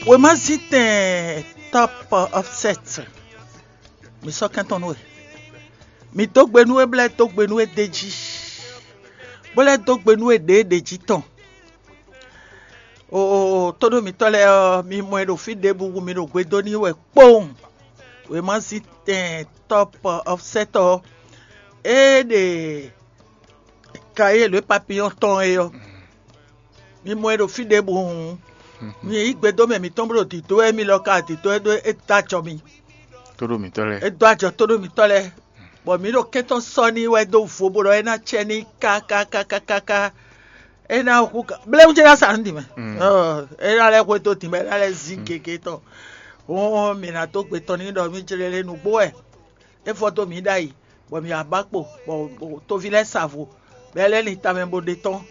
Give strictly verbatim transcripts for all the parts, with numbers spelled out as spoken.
Wěmazítɛn Top Offset, mi sɔ́ kɛntɔ́ nú we. Mi dó gbe nú we, bó lɛ́ dó gbe nú we d'é jí, bó lɛ́ dó gbe nú we ɖě ɖě jí tɔn. Oo, tónú mitɔ́ lɛ́ɛ ɔ́, mi mɔ ɛ ɖo fí ɖěbǔ, mi ɖo gbe dó n'i wɛ kpowun. Wěmazítɛn Top Offset ɔ́, é ɖe Kayé lě papiyɔ́n tɔn é ɔ́, mi mɔ ɛ ɖo fí ɖěbǔ hǔn, mi yí gbe dó mɛ mǐtɔn bó ɖo dǐdó wɛ, émí lɔ ka dǐdó wɛ ɖó é dó ajɔ mi. Tóɖó mǐtɔn lɛ́ɛ. É dó ajɔ tóɖó mǐtɔn lɛ́ɛ, bɔ mǐ ɖo kɛ́ntɔ́ sɔ́ n'i wɛ dó vo bó ɖɔ é ná cɛ n'i kákákákáká. É ná hu ká bléwún ce ná sa nǔ ɖi mɛ. É ná lɛ́ hwedó dǐn mɛ, é ná lɛ́ zín gěgé tɔn. Hɔn mǐ ná dó gbe tɔn n'i ɖɔ mí jlé lé nǔgbó wɛ. É vɔ dó mǐ ɖ'ayǐ, bɔ mǐ wá ba kpo, bɔ toví lɛ́ɛ sa vo, bɔ é lɛ́ lin tamɛ bó ɖe tɔ́n.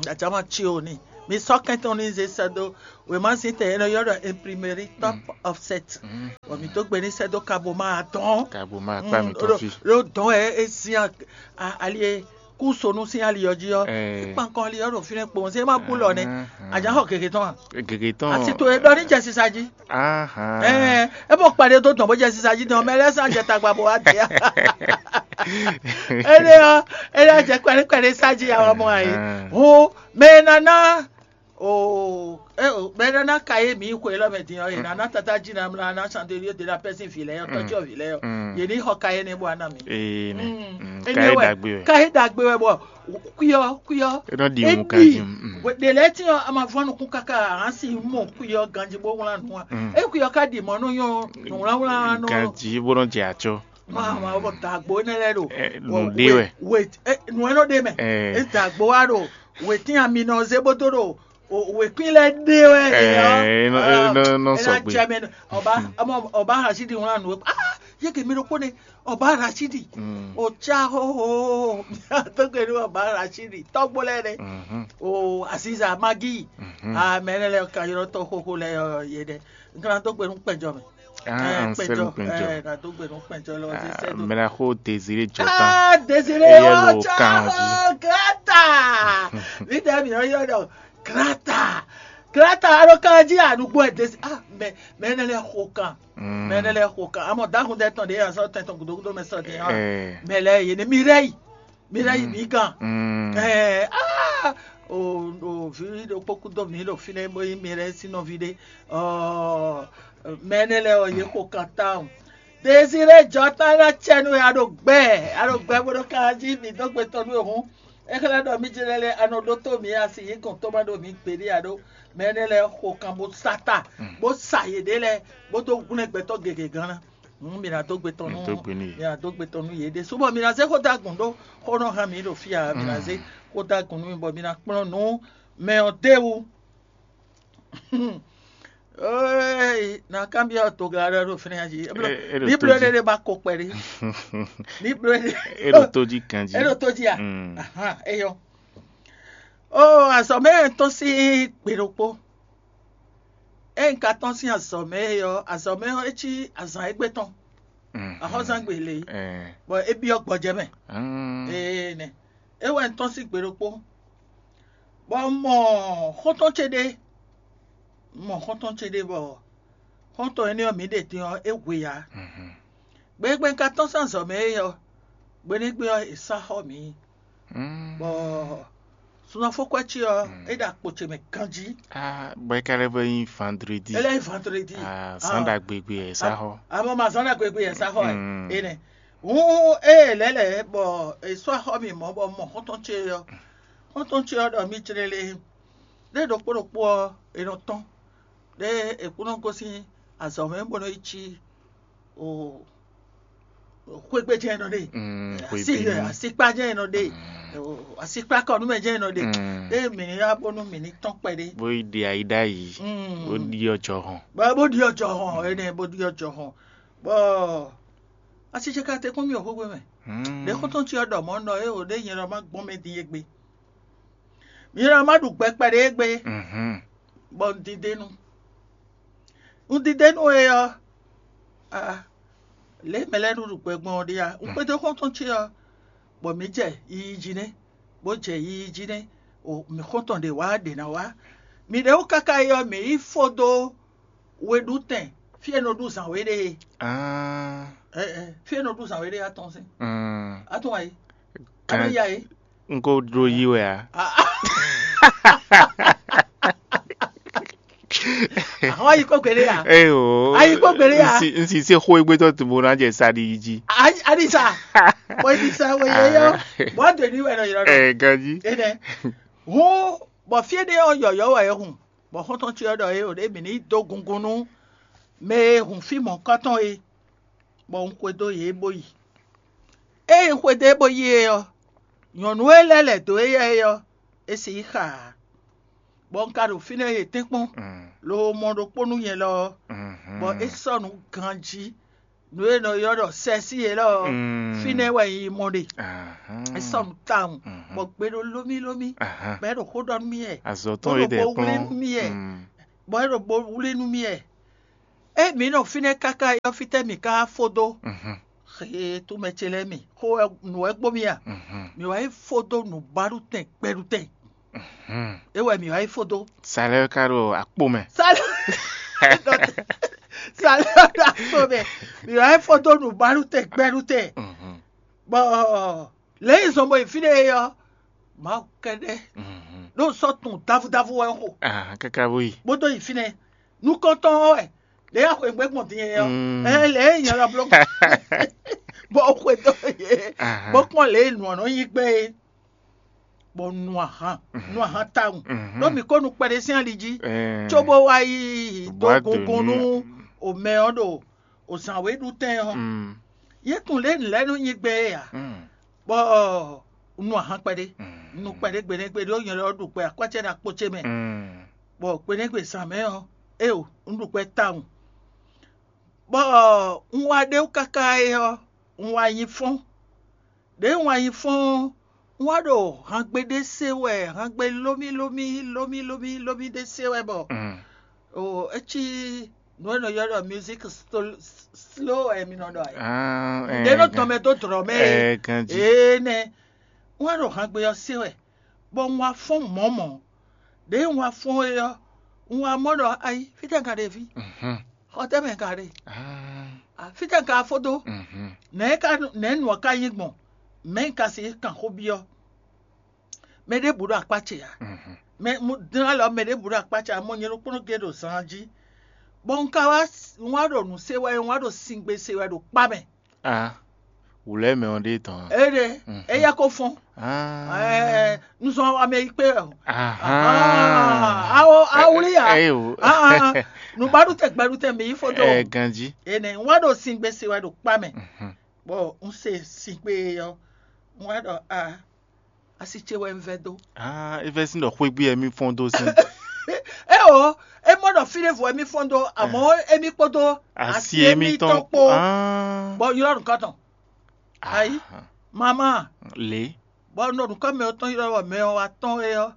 Ajǎma ce ò ní. Mi sɔ́ kɛntɔn ní zé sɛ́ dó wěmazín tɛ e nɔ ylɔ́ ɖɔ imprimerie Top Offset, bɔ mǐ dó gbe ní sɛ́ dó kaboma atɔ́ɔ́n. Kaboma akpá mǐtɔn fí. Ɖó dɔn wɛ é sín ali e kú sonu sín ali ɔ́ jí ɔ́, é kpan kɔn ali ɔ́ ɖo fínɛ́ kpowun, é má bú lɔ nɛ́. Ajǎ xɔ gěgé tɔn a? Gěgé tɔn. Asi to e ɖɔ ní jɛ sisa jí. Ɛɛ, é mɔ kpaɖé dó dɔn bó jɛ sisa jí dɔn, mɛ lɛ́ɛ sán jɛ tagba bó wá dɛ. Énɛ́ ɔ́, é ná jɛ kpɛɖé kpɛɖé sá jí awɔ mɔ ayǐ. Hǔn mɛ e ná ná o, mɛ e ná ná ka yé mǐ xwe élɔ́ mɛ din ɔ́, yě ná ná tatá jí ná mlá ná sandelíó dé ná pɛ́ sín vǐ lɛ́ɛ ɔ́, tɔ́jú vǐ lɛ́ɛ ɔ́, yě ní xɔ ka énɛ́ bó wá ná mǐ. Énɛ́ wɛ, ka é ɖagbe wɛ. Ka é ɖagbe wɛ bɔ kwí ɔ́, kwí ɔ́, é nɔ ɖi wun ka jí. Ɖe lɛ́ɛ tín ɔ́, a ma vɔ́ nukún káká a si mɔ kwí ɔ́ ganjí bó wlán nǔ a? É kwí ɔ́ ka ɖi mɔ̌ nú nyɔ́ nǔwlánwlán nɔ. Ganjí bó nɔ jɛ acɔ. Mama bɔ dagbo énɛ́ lɛ́ɛ ɖo nǔ ɖe wɛ. Nǔ e nɔ ɖe mɛ. É dagbo wá ɖo wětín ami nɔ zé bó dó ɖo wěkwín lɛ́ɛ ɖe wɛ. Nɔ sɔgbe. Ɔba ɔba Rashidi wlán nǔ e ah yeke mi ɖokpó ne ɔba Rashidi. O tsa hoho. Tó gbe ní ɔba Rashidi tɔgbo lɛ́ɛ ɖe. O Aziza Magi. Amɛ ne lɛ ka ylɔ tɔ xoxo lɛ yɛ ɖe. Nkana tó gbe nú kpɛjɔ mɛ. Ansel kpɛjɔ. Ɛ na tó gbe nú kpɛjɔ lɔ ɔ́ sɛ do. Mɛ na xo Désiré Jɔta. Ah, Désiré ɔ tsa grata. Vítɛ mi ɔ yɔ dɔ grata. Grata alo kan jí anugbo ɛ Désiré. Ah, mɛ mɛ ne lɛ xo kan. Mɛ ne lɛ xo kan. Amɔ dahun dɛ tɔn de azɔ tɛn tɔn gudogudo mɛ sɔ de. Mɛ lɛ yé ne mi rɛ yi. Mi lɛ́ yi mǐ gán. Ɛɛ aa o o vǐ ɖokpó kú dó mǐ ɖo fínɛ́ bó nyí mi lɛ́ɛ sín nɔví ɖé. Ɔɔ mɛ énɛ́ lɛ́ɛ ɔ́ yě xo kan tawun. Désiré Jɔta ná cɛ nú a ɖo gbɛ a ɖo gbɛ bó ɖo kan jí mǐ dó gbe tɔn nú e hǔn. É xlɛ́ ɖɔ mí jlɛ́ lɛ́ɛ a nɔ ɖótó mǐ asi yí gɔn tó má ɖo mǐ gbeɖé a ɖó. Mɛ énɛ́ lɛ́ɛ xo kan bó sá ta bó sa yěɖée lɛ́ɛ bó dó hwlɛ́n gbɛtɔ́ gěgé gán ná. Hǔn mi ná dó gbe tɔn nú mi ná dó gbe tɔn nú yě ɖésú bɔ mi ná zé xó dó agun ɖó xó nɔ hán mi ɖo fí ǎ. Mi ná zé xó dó agun nú mi bɔ mi ná kplɔ́n nǔ mɛ ɔ́ d'é wú. Ee, na kanbyɔ́ togla ɖɔ ɖo fínɛ́ jí. Ní bló ɖé ɖé ba ko kpɛɖé. Ní bló ɖé. É ɖo tó jí kan jí. É ɖo tó jí a? Ahan, é yɔ. Ó azɔ̌ mɛ tɔn sín gbe ɖokpó. Ényí un ka tɔ́n sín azɔ̌ mɛ é ɔ́, azɔ̌ mɛ ɔ́ é cí azǎn égbé tɔn, axɔ́zán gbe lě, bɔ é byɔ́ gbɔjɛ́ mɛ. Ee nɛ, é wɛ un tɔ́n sín gbe ɖokpó, bɔ un mɔ xɔ́ntɔn ce ɖé, un mɔ xɔ́ntɔn ce ɖé bɔ xɔ́ntɔn énɛ́ ɔ́, mǐ ɖe din ɔ́, é hwe ǎ. Gbe e gbe un ka tɔ́n sín azɔ̌ mɛ é ɔ́, gbe énɛ́ gbe ɔ́, è sá xɔ mǐ. Bɔ sunɔfɔkwɛ ce ɔ́, é ɖo akpo ce mɛ ganjí. Ah, bɔ é ka lɛ́ vɔ nyí vendredi. É lɛ́ nyí vendredi. Ah, zán ɖagbe gbe ɛ sá xɔ. Amɔ ma zán ɖagbe gbe ɛ sá xɔ ɛ. Énɛ́. Hǔn ée lɛ̌ lɛ̌ bɔ è sɔ́ axɔ mì mɔ̌ bɔ mɔ xɔ́ntɔn ce ɔ́. Xɔ́ntɔn ce ɔ́ ɖɔ mì clélé. Ɖé ɖokpó ɖokpó ɔ́, è nɔ tɔ́n. Ɖé è kún nɔ gosín azɔ̌ mɛ bó nɔ yi cí o xwégbé jɛ́n nɔ ɖe. Asi asikpa jɛ́n nɔ ɖe. Asikpa kɔnúmɛ jɛ́n nɔ ɖe. Ɖé mǐ ní wá bónú mǐ ní tɔ́n kpɛɖé. Bó yi ɖe ayi ɖ'ayǐ. Bó ɖiɔ jɔhɔn. Bó bó ɖiɔ jɔhɔn, énɛ́ bó ɖiɔ jɔhɔn. Bɔ asi ce ka te kpɔ́n mì o xwégbé mɛ. Ɖě xɔ́ntɔn ce ɔ́ ɖɔ mɔ̌ nɔ é o ɖé nyɛ lɔ má gbɔn mɛ din égbé. Nyɛ lɔ má ɖu gbɛ kpɛɖé égbé. Bɔ un didénu. Un didénu é ɔ́, aa, lě mɛ lɛ́ɛ nɔ ɖu gbɛ gbɔn ɔ́ ɖíe a? Un kpédó xɔ́ntɔn ce ɔ́, bɔ mǐ jɛ yiyi jí nɛ́, bó jɛ yiyi jí nɛ́, o mǐ xɔ́ntɔn ɖě wá ɖě ná wá. Mǐ ɖě wú káká yi ɔ́, mǐ yi fó dó We ɖu tɛn fí e nɔ ɖu zǎn we ɖe é. Fí e nɔ ɖu zǎn we ɖe atɔn sín. Atɔn ayi. Kan- Atɔn ya é. N ko ɖó yí wɛ a? Àwọn ayikó gbélé ya. Eyo. Ayikó gbélé ya. N sì se xó egbé tɔ tìbò náà jẹ sadi yi jí. Adisa. Bɔ Adisa wo yɛ yɔ. Bɔ do ni wɛ nɔ yɔrɔ. Ɛ ganji. Ene. Hun bɔ fie ɖe ɔ yɔyɔ wɛ hun. Bɔ xɔntɔn tsi ɔ ɖɔ ye o ɖe mi ni do gungun nú mɛ e hun fí mɔ̌kɔtɔn é. Bɔ un xwedó yě bó yi. Ée un xwedó é bó yi é ɔ́, nyɔ̌nu e lɛ́ lɛ̌ dó éyɛ́ é ɔ́, é si yí xa ǎ. Bɔ un ka ɖo fínɛ́ yě tɛ́nkpɔ́n, lobo mɔ ɖokpó nú nyɛ lɔ ɔ́, bɔ é sɔ́ nǔ ganjí, nǔ e è nɔ ylɔ́ ɖɔ sɛ́sí é lɔ ɔ́, fínɛ́ wɛ un yi mɔ ɖe. É sɔ́ nǔ tawun, bɔ gbe ɖo lómílómí, bɔ é ɖo xó ɖɔ nú mì wɛ, Azɔ̌ tɔn e ɖɛ bó wlí nú kplɔ́n. Mì wɛ, bɔ é ɖo bó wlí nú mì wɛ. Ée mǐ nɔ fínɛ́ káká é ɔ́, fítɛ́ mǐ ka wá fó dó? Xee tún mɛ ce lɛ́ɛ mi, xó wɛ nǔ wɛ gbo mì a? Mǐ wá yi fó dó nǔbáɖutɛn gbɛɖutɛn. É wɛ mǐ wá yi fó dó. Salɛ ka ɖo akpo mɛ. Sálẹ̀ sálẹ̀ ɔ́ ɖo akpo mɛ. Mǐ wá yi fó dó nǔbáɖutɛn gbɛɖutɛn. Bɔ lě e zɔn bɔ yi fínɛ́ é ɔ́, Mawu kɛ́ɖɛ́ ɖó sɔ́ tun davudavu wɛ xo. Káká bó yi. Bó dó yi fínɛ́. Nukɔntɔn ɔ́ wɛ ɖě ya xweyǐgbe gbɔn din é ɔ́, ɛ lě e nyɛ lɔ bló bɔ xwedó yě bó kpɔ́n lě e nǔ ɔ́ nɔ nyí gbɛn é, bɔ nu ahan nu ahan tawun ɖó mǐ ko nu kpɛɖé sín ali jí, cóbó wá yi dó gungun nú omɛ ɔ́ ɖo ozǎn we ɖu tɛn ɔ́. Yě tunwun lě nǔ lɛ́ɛ nɔ nyí gbɛn é ǎ, bɔ un nu ahan kpɛɖé, un nu kpɛɖé gbenɛgbe ɖó nyɛ lɔ ɖu gbɛ akwɛ́cɛ́ ɖo akpo ce mɛ, bɔ gbenɛgbe zǎn mɛ ɔ́, éeǒ, un ɖu gbɛ tawun. Bɔ un wá ɖe wú káká é ɔ́, un wá nyi fɔ́n. Ɖěe un wá nyi fɔ́n ɔ́, un wá ɖo hangbe ɖé se wɛ, hangbe lómí lómí lómí lómí lómí ɖé se wɛ bɔ o é cí nǔ e nɔ ylɔ́ ɖɔ music slow wɛ mi nɔ ɖɔ ɛ. Ɖě nɔ tɔn mɛ dó dlɔ̌ mɛ é. Ee nɛ. Un wá ɖo hangbe ɔ́ se wɛ, bɔ un wá fɔ́n mɔ̌ mɔ̌. Ɖěe un wá fɔ́n é ɔ́, un wá mɔ ɖɔ ayi, fítɛ́ un ka ɖe fí? Xɔ tɛ́ mɛ un ka ɖe? Fítɛ́ un ka fó dó? Nɛ̌ ka nɛ̌ nǔ ɔ́ ka nyí gbɔn? Mɛ̌ un ka sixú kan xó byɔ́? Mɛ ɖěbǔ ɖo akpá ce ǎ. Mɛ dlán lɔ mɛ ɖěbǔ ɖo akpá ce ǎ, mɔ nyɛ ɖokpónɔ gé ɖo zan jí. Bɔ un ka wá un wá ɖo nǔ se wɛ, un wá ɖo singbe se wɛ ɖo kpá mɛ. Ah, wǔlɛ́mɛ ɔ́ ɖe tɔn. Éɖe, éyɛ́ ko fɔ́n. Ah, Nuzɔn amɛ yi kpé ɔ. Ahan. Awo awuli ya. Eyo. Nùgbàdùtẹ̀ gbàdùtẹ̀ mi yí fó dó. Ɛ ganji. Ene un wá ɖo singbe se wɛ ɖo kpá mɛ. Bɔ un se singbe ɔ, un wá ɖɔ a asi ce wɛ un vɛ dó. Ah, e vɛ sín ɖɔ xwégbé ɛ mí fɔ́n dó sín. E o, e mɔ ɖɔ fí ɖěvo wɛ mí fɔ́n dó, àmọ́ émí kpódó Asi émítɔn kpó. Ah, Bɔ ylɔ́ nǔkɔn tɔn. Ayi, mama, lě. Bɔ un ɖo nǔkɔn mɛ ɔ́ tɔn ylɔ́ wɔ mɛ ɔ́ wá tɔn é ɔ́,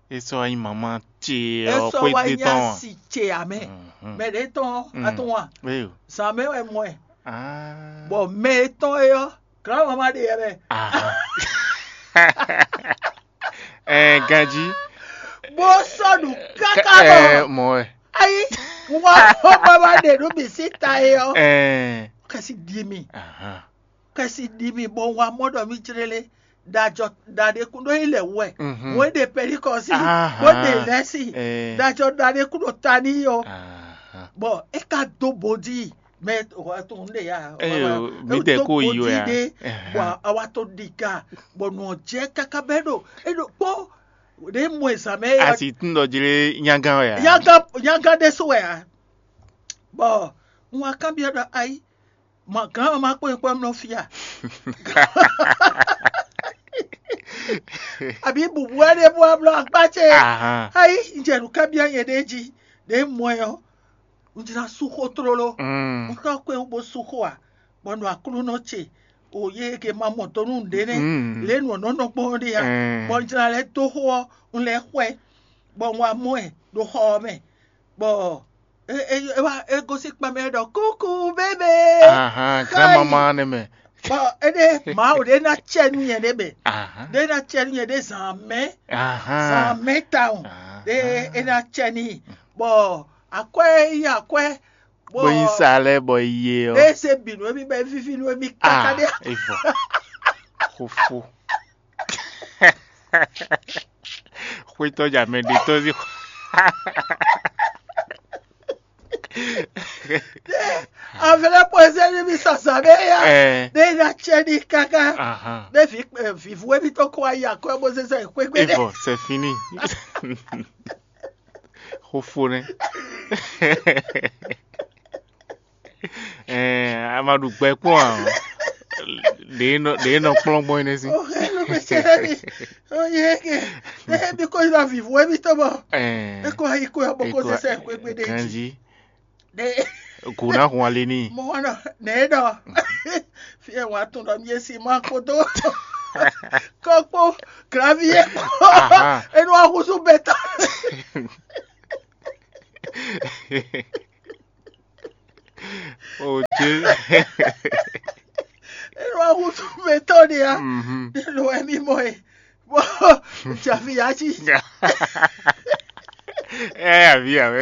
E sɔ wá nyí mama ce é ɔ sɔ́ wá xwégbé nyí tɔn. Asi ce amɛ. Mɛ ɖě tɔn ɔ́, atɔn wa. Eyo. Zǎn mɛ wɛ mɔ ɛ. Ah. Bɔ mɛ e tɔn é ɔ́, glǎn mama ɖe yɛ mɛ. Ahan. Ɛ ganji. Bó sɔ́ nǔ káká bɔ Ɛ mɔ ɛ. Ayi, wá xɔ mama ɖe nú mi sí ta é ɔ́. Ɛ. Kɛsi ɖi mi, Ahan. Kɛsi ɖi mi bɔ wá mɔ ɖɔ mi jlélé. Ɖajɔ ɖaɖe kún ɖó yi lɛ wɛ. Mhm. Wọ́n ɖe pɛ́líkɔsí, Ahan. wọ́n ɖe lɛ́sì. Ɛ. Ɖajɔ ɖaɖe kún ɖo ta ní yɔ. Ahan. Bɔ é ka dó bodí mɛ tɔn ɖe ya. Eyo, mí tɛ kó yi wɛ a? Ɖe bɔ awa tó ɖi ga bɔ nɔ jẹ́ káká bɛ ɖo é ɖo kpɔ ɖe mɔ ɛzan mɛ ya. Asi tún ɖɔ jlé nyagán wɛ a? Yaga yaga ɖe so wɛ a? Bɔ n wa kan biɔ ɖɔ ayi ma gán ma kpɔn kpɔn mlɔ fia. Àbí bùbù wɛ ɖe bó amlɔ akpá ce. Ahan. Ayi n jɛ nǔ kan biɔ nyɛ ɖe jí ɖe mɔ ɛ ɔ. Un jla sú xó tlóló. Mm. Un xɔ kpé wú bó sú xó a, bɔ nɔ Aklúnɔ ce o yé ke ma mɔ dó nú nǔɖé nɛ́. Mm. Lě nǔ ɔ́ nɔ nɔ gbɔn ɖe a, Mm. bɔ un jla lɛ́ dó xó ɔ́, un lɛ́ xwɛ, bɔ un wá mɔ ɛ ɖo xɔ ɔ́ mɛ, bɔ é é é wá é gosín kpa mɛ ɖɔ kúkú bébé. Ahan, grand maman ne mɛ. Bɔ éɖé Mawu ɖé ná cɛ nú nyɛ ɖé mɛ, Ahan. ɖé ná cɛ nú nyɛ ɖé zǎn mɛ, Ahan. zǎn mɛ tawun, Ahan. ɖé é ná cɛ n'i, bɔ Akwɛ́ e nyí akwɛ́, bɔ bó nyí sa lɛ́ɛ bɔ yi e ɔ́. Ée se bǐ nú émí bɔ é víví nú émí káká Ah, ɖé. É vɔ. Xófó. Xwétɔ́ jà mɛ ɖe tɔ́ sí. Avlɛ pɔzɛ ní mi sasa bɛ ya. Ɛ. Ne na tsɛ ní kaka. Ahan. Ne vi vivu emi tɔ kɔ ayi akɔ bó zezɛ xwegbe É ɖe. Vɔ, c'est fini. Xófó nɛ. Ɛɛ, a ma ɖu gbɛ kpɔn ǎ. Ɖě nɔ ɖě nɔ kplɔ́n gbɔn é nɛ́ sín. Oxe ló bɛ tsɛ ɖe mi. Oye ke. Ne mi ko yi na vivu emi tɔ bɔ. Ɛɛ, E ko ayi ko ya bɔ ko Ekɔ- zezɛ xwegbe ɖe jí. Ganji. Ne Gǔ ná hun ali n'i. Mo wana nɛ ɖɔ. Fi e wa tun ɖɔ mi si ma kpoto. Kɔkpo gravier. Aha. Enu wa husu bɛtɔ. O Dieu. Enu wa husu bɛtɔ ni ya. Mhm. Enu wa mi mɔ e. Bɔ javi ya ji. Ɛ avi awɛ.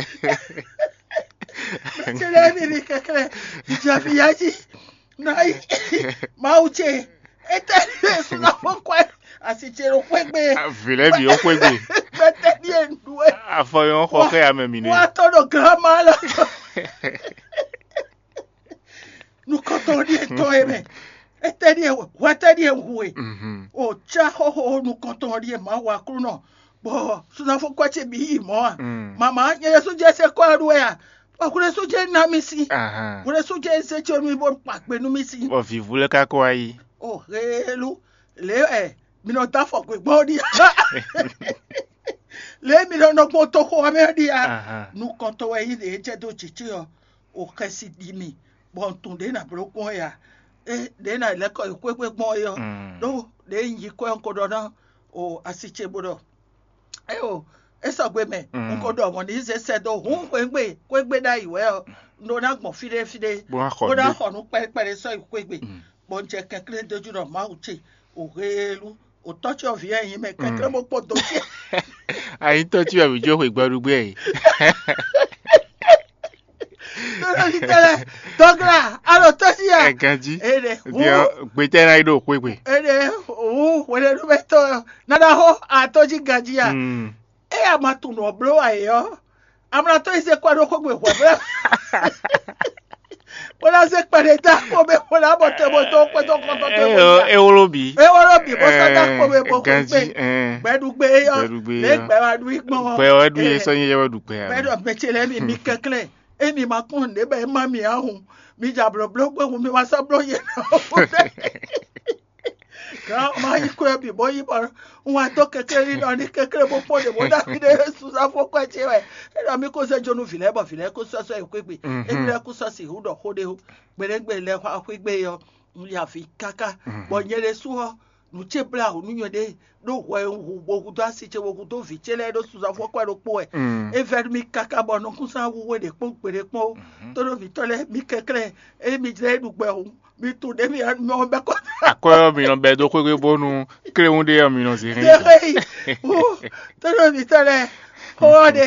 Tele mi mi kɛkɛ. Javi ya ji. Na yi. Mawu ce. Ete ni suna fɔ kɔɛ. Asi ce ɖo xwegbe. Vilɛ bi o xwegbe. Gbɛtɛ ni e nu e. Afɔ yɔ xɔ xɛ ame mi ne. Wa tɔ ɖo grama la. Nukɔntɔn ɖie tɔ e mɛ. Ete ɖie hwɛtɛ ɖie hu e. Mhm. O ca xɔxɔ nukɔntɔn ɖie ma wa klunɔ. Bɔ sunafo kɔ ce bi yi mɔ a. Mm. Mama nyɛ yesu jɛ se kɔ ɖu ya. Bɔ hwelesu jɛ na mi si. Ahan. Hwelesu jɛ se ce mi bo kpa gbe nu mi si. Bɔ vivu lɛ ka kɔ ayi. O helu le ɛ mi nɔ da fɔ gbe gbɔ ɖi. Le mi nɔ nɔ gbɔ to xɔ mɛ ɖi a. Ahan. Nukɔntɔ wɛ yi le jɛ do jiji ɔ. O xɛsi ɖi mi bɔ n tunwun ɖě nǎ bló gbɔn é ǎ. É ɖě nǎ lɛ́ kɔ yi xwé gbé gbɔn é ɔ́, Mm. Ɖó ɖě un yi kwɛ́ un ko ɖɔ ná o asi ce bó ɖɔ é o é sɔgbe mɛ Mm. Un ko ɖɔ mɔ̌ ní zé sɛ́ dó hǔn xwégbé xwégbé ɖ'ayǐ wɛ ɔ́, un ɖó ná gbɔn fí ɖé fí ɖé Bó ná xɔ bó ná nǔɖé. Xɔ nǔ kpɛɖé kpɛɖé sɔ́ yi xwégbé, Mm. Bɔ un jɛ kɛnklɛ́n dó jú ɖɔ Mawu ce o heelú o tɔ́ ce ɔ́ vǐ wɛ nyí mɛ kɛnklɛ́n bó kpɔ́n dó ce. Ayǐtɔ́ cí wɛ mǐ jó xwe gbɛɖugbɛ́ e. Tɔ́lɔ́ví tɛ́ lɛ́ɛ, dɔgla, alɔ tɔ́sí ya. Ɛ ganjí. Ene Diɔ gbetɛ na yi ɖo xwegbe. Ene wu hwenɛnumɛtɔ nana xo atɔ́ jí ganjí ya. Mm. Eye a ma tunwun nɔ bló wa yě ɔ́, a ma na tɔ́ yi zé kɔ ɖó xwegbe hwɛ̌ bla. Bó ná zé kpɛɖé dó akpo mɛ bó ná bɔ te bó dó xwedó kɔntɔn te bó Eyɔ ya. Ewolo bi. Ewolo bi bó sɔ́ dó akpo mɛ bó xwegbe. Ganjí. Gbɛɖugbe yɔ Gbɛɖugbe lě yɔ. Gbɛ wa ɖu yi gbɔn. Gbɛ wɛ ɖu ye sɔ nyi yɛ wɛ ɖu gbɛ. Gbɛ ɖɔ mɛ ce lɛ́ɛ mi mi kɛnklɛ́n. Emi ma kpɔ́n nǔɖé bɔ é má mi ǎ hǔn, mi jɛ ablɔ̌blɔ́ gbé hǔn mi wá sɔ́ bló yě ná hǔn. Gǎn ma yi kwɛ́ bǐ bó yi bɔ un wá dó kɛnklɛ́n ní ɖɔ ní kɛnklɛ́n bó kpɔ́n ɖě bó ɖɔ mì ɖé Yesu sɔ́ fó kwɛ́ ce wɛ. É ɖɔ mì kó zé jó nú vǐ lɛ́ɛ bɔ vǐ lɛ́ɛ kó sɔ́ sɔ́ yi xwé gbe. Émi lɛ́ɛ kó sɔ́ sixú ɖɔ xó ɖé ó. Gbeɖégbé lɛ́ɛ xwá xwé gbe ɔ́, un ya avǐ káká, bɔ nyɛ ɖésú ɔ́, nǔ ce blá wǔ nú nyɛ ɖé ɖó hwɛ e un hu bó hudó asi ce bó hudó vǐ ce lɛ́ɛ ɖó sunzán fɔ́kɔ́ ɖokpó wɛ. É vɛ́ nú mì káká bɔ nukúnsan wú we ɖě kpɔ́n gbeɖé kpɔ́n ó. Tónɔvǐtɔ́ lɛ́ɛ, mi kɛnklɛ́n, ényí mi jlɛ́ é ɖu gbɛ hǔn, mi tunwun ɖě mi nɔ bɛ́ kɔ́. Akwɛ́ ɔ́, mi nɔ bɛ́ dó xwégbe bónú kléwún ɖé ɔ́, mi nɔ zě hɛn Zé xé yi. Wú, tónɔvǐtɔ́ lɛ́ɛ, xó ɔ́ ɖe,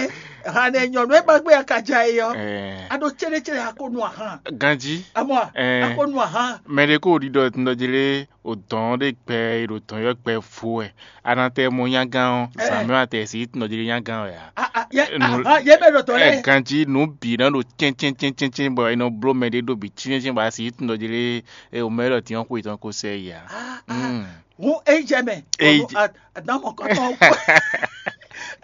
hǎn ɖe nyɔ̌nu e ba gbé akaja é ɔ́, Ɛɛ, a ɖo céɖécéɖé a ko nu ahan. Ganjí. Amɔ, Ɛɛ. A ko nu ahan. Mɛ ɖé kó ɖiɖɔ tɔn ɖɔ jlé o dɔn ɖé gbɛ e ɖo dɔn yɔ gbɛ vo wɛ. A nɔ tɛ mɔ nyagán ɔ́, Ɛɛ. Zǎn mɛ atɛ si tɔn ɖɔ jlé nyagán wɛ a? A, a, yɛ, Nu- aha, yɛ bɛ ɖo tɔ lɛ. Ɛ ganjí nǔ bǐ nɔ ɖo cɛ́ncɛ́ncɛ́ncɛ́n bɔ è nɔ bló mɛ ɖé ɖó bǐ cɛ́ncɛ́n bɔ a si tɔn ɖɔ jlé e o mɛ ɖɔ tiɔ́n xwe tɔn ko sɛ yi a? Ah, ah. Mm. Ŋu eyi jɛ mɛ. Eyi Ŋu jɛ- a- Adamɔ kɔtɔ kɔ.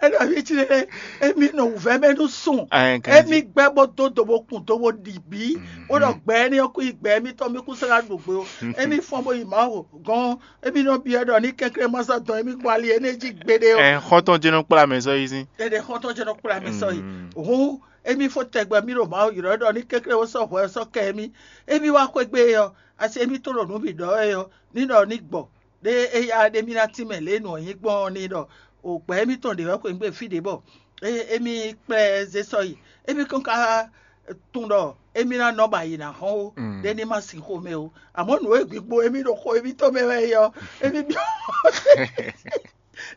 Ɛnɔ mi tsi ɖe emi nɔ wuvɛ mɛ nu sùn. Ɛ ganjí. Emi gbɛ bɔ do do bo kun do bo ɖi bi. Wo nɔ gbɛ ni ɔkú yi gbɛ mi tɔ mi kú sara ɖo gbe o. Emi fɔn bo yi ma o gɔn. Emi nɔ biɛ ɖɔ ni kɛnklɛn ma sa dɔn emi gbɔ ali ene ji gbeɖe o. Ɛ xɔtɔn jɛnɔ kpla mɛ sɔ yi sín. Ene xɔtɔn jɛnɔ kpla mɛ sɔ yi. Hun emi fo tɛgbɛ mi ɖo ma o yrɔ ɖɔ ni kɛnklɛn wo sɔ hwɛ sɔ kɛ emi. Emi wa xwegbe yɔ asi emi to ɖo nǔ bǐ ɖɔ wɛ ɔ́, ní ɖɔ ní gbɔ ɖé éyá ɖé mì ná tínmɛ lě nǔ ɔ́ nyí gbɔn ɔ́ ní ɖɔ o gbɛ émítɔn ɖě wɛ xweyǐgbe fí ɖě bɔ émí kplá ɛ zé sɔ́ yi. Émí kɔn ka tunwun ɖɔ émí ná nɔ bɔ ayǐ ná hɔn ó, ɖé ní ma sin xomɛ ó. Amɔ̌ nǔ e gbigbo émí ɖo xo émítɔn mɛ wɛ é ɔ́, émí byɔ́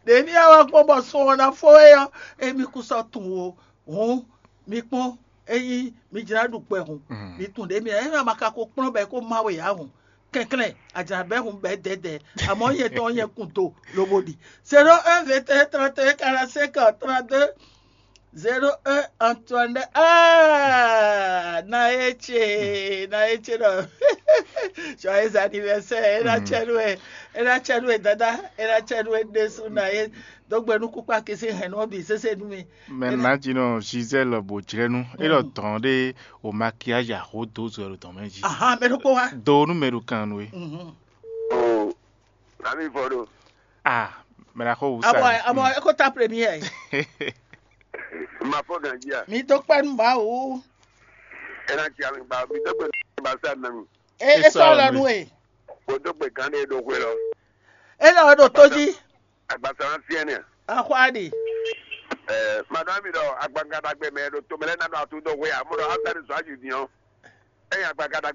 ɖě émí wá wá gbɔn bɔ sun ɔ́ ná fó é ɔ́, émí kún sɔ́ tunwun ó. Hǔn mi kpɔ́n, ényí mi jlá ɖu kpɛ hǔn, mi tunwun ɖě mi ényí a ma ka ko kplɔ́n bɔ é kó má we ǎ hǔn, kɛnklɛ́n a jlǎ bɛ́ hǔn bɛ́ dɛ̌dɛ̌, amɔ̌ nyɛ tɔn nyɛ kun do lobo ɖi. Zéro un vingt et un trente et un quarante-cinq trente-deux. Zéro un Antoine, ah, na e ce na e ce ɖɔ joyeux anniversaire, e na cɛ nú ɛ, e na cɛ nú ɛ dada, e na cɛ nú ɛ ɖésú na e dó gbe nú kúkpá kisi hɛn nú ɔ́ bǐ sésé nú mi. Mɛ nǎjínɔ Gisèle bò jlɛ́nú é ɖɔ dɔn ɖé o maquillage axó dó zɔ ɖo dɔn mɛ jí. Ahan, mɛ ɖokpó wá. Do nú mɛ ɖo kan nú é. Mhm. O, ami vɔ ɖo. Ah, mɛ ɖo axó wú sa. Abɔ abɔ eko ta première. Ma fɔ ganji a. Mi dó kpɛ́ nú Mawu. E na ci ami gba mi dó gbe ba sa na mi. E e sɔ lɔ nú e. Ko dó gbe gan ɖe ɖo hwe lɔ. E lɔ ɖo tó jí. Agbasa na fiɛ nɛ. Axwa ɖi. Ɛɛ, madame mi ɖɔ agbagada gbe mɛ ɖo to mɛ lɛ na ɖo atu dó hwe a mo ɖɔ after the soir you diɔn. Eye agbagada